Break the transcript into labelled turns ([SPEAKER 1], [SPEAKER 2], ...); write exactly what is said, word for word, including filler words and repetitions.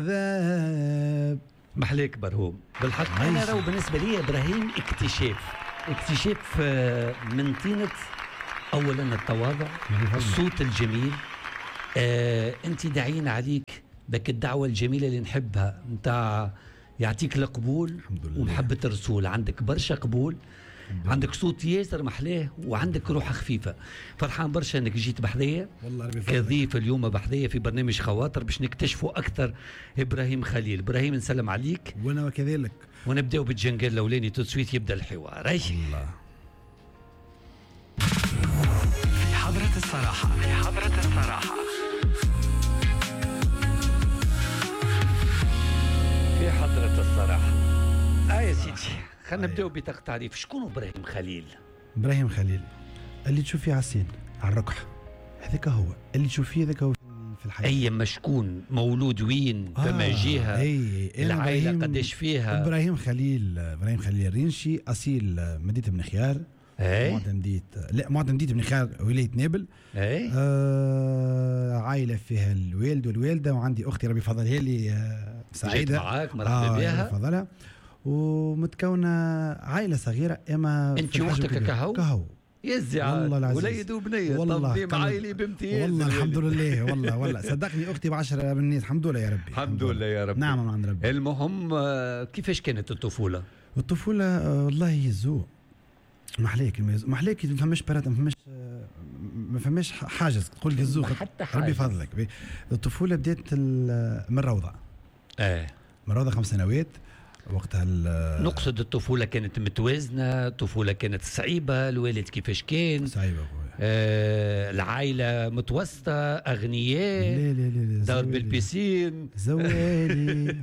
[SPEAKER 1] عذاب.
[SPEAKER 2] محليك برهوم بالحق. انا راهو بالنسبة لي ابراهيم اكتشاف اكتشاف آه، من طينه اولا التواضع، الصوت الجميل. آه انت داعين عليك ذاك الدعوة الجميلة اللي نحبها نتاع يعطيك القبول.
[SPEAKER 1] الحمد لله.
[SPEAKER 2] ومحبه الرسول، عندك برشا قبول، عندك صوت ياسر محلاه وعندك روح خفيفة. فرحان برشا انك جيت بحذايا
[SPEAKER 1] والله ربي يفضلك.
[SPEAKER 2] كضيف اليوم بحذايا في برنامج خواطر باش نكتشفوا اكثر ابراهيم خليل. ابراهيم نسلم عليك.
[SPEAKER 1] وانا وكذلك.
[SPEAKER 2] ونبداو بال jingle الاولاني tout de suite يبدا الحوار. أي.
[SPEAKER 1] الله.
[SPEAKER 3] في حضرة الصراحة، في حضرة الصراحة،
[SPEAKER 2] في حضرة الصراحة. آه يا سيدي، خلينا نبداو بطاقة تعريف. شكون ابراهيم خليل؟
[SPEAKER 1] ابراهيم خليل اللي تشوف فيه على ال scène على الركح، هذاك هو اللي تشوف فيه، هذاك هو في الحياة.
[SPEAKER 2] اي مشكون مولود وين؟
[SPEAKER 1] آه،
[SPEAKER 2] فما جهة؟
[SPEAKER 1] اي أنا
[SPEAKER 2] العائلة
[SPEAKER 1] إبراهيم-
[SPEAKER 2] قداش فيها؟
[SPEAKER 1] ابراهيم خليل، ابراهيم خليل الرينشي، اصيل مدينة بن خيار.
[SPEAKER 2] اي
[SPEAKER 1] معتمدية، لا معتمدية بن خيار ولاية نابل.
[SPEAKER 2] اي
[SPEAKER 1] آه عائلة فيها الوالد والوالدة، وعندي أختي ربي يفضلها لي، آه سعيدة.
[SPEAKER 2] جيت معاك، مرحبا
[SPEAKER 1] آه
[SPEAKER 2] بها.
[SPEAKER 1] ربي يفضلها. ومتكونة عائلة صغيرة إما
[SPEAKER 2] أنت
[SPEAKER 1] في الحجم
[SPEAKER 2] وأختك
[SPEAKER 1] الكبير.
[SPEAKER 2] كهو؟
[SPEAKER 1] كهو.
[SPEAKER 2] يزي عاد.
[SPEAKER 1] والله العزيز.
[SPEAKER 2] وليد وبنية.
[SPEAKER 1] والله
[SPEAKER 2] تنظيم
[SPEAKER 1] قلب.
[SPEAKER 2] عائلي بامتياز.
[SPEAKER 1] والله الحمد
[SPEAKER 2] الولد.
[SPEAKER 1] لله. والله والله صدقني أختي بعشرة من الناس، الحمد لله يا ربي.
[SPEAKER 2] الحمد لله يا ربي.
[SPEAKER 1] نعم من عند ربي.
[SPEAKER 2] المهم آه، كيفاش كانت الطفولة؟
[SPEAKER 1] الطفولة آه، والله يزو محليك، محليك، ما فماش برات، ما فماش، ما فماش حاجز تقول يزو.
[SPEAKER 2] حتى
[SPEAKER 1] ربي
[SPEAKER 2] حاجز.
[SPEAKER 1] يفضلك. الطفولة بدات ال- من الروضة.
[SPEAKER 2] ايه
[SPEAKER 1] من الروضة خمس سنوات وقتها. ال-
[SPEAKER 2] نقصد الطفولة كانت متوازنة، الطفولة كانت صعيبة، الوالد كيفاش كان؟
[SPEAKER 1] صعيبة خويا.
[SPEAKER 2] آه العائلة متوسطة، أغنياء،
[SPEAKER 1] لا لا لا لا
[SPEAKER 2] دار
[SPEAKER 1] زوالي.
[SPEAKER 2] بال piscine.
[SPEAKER 1] زوالي.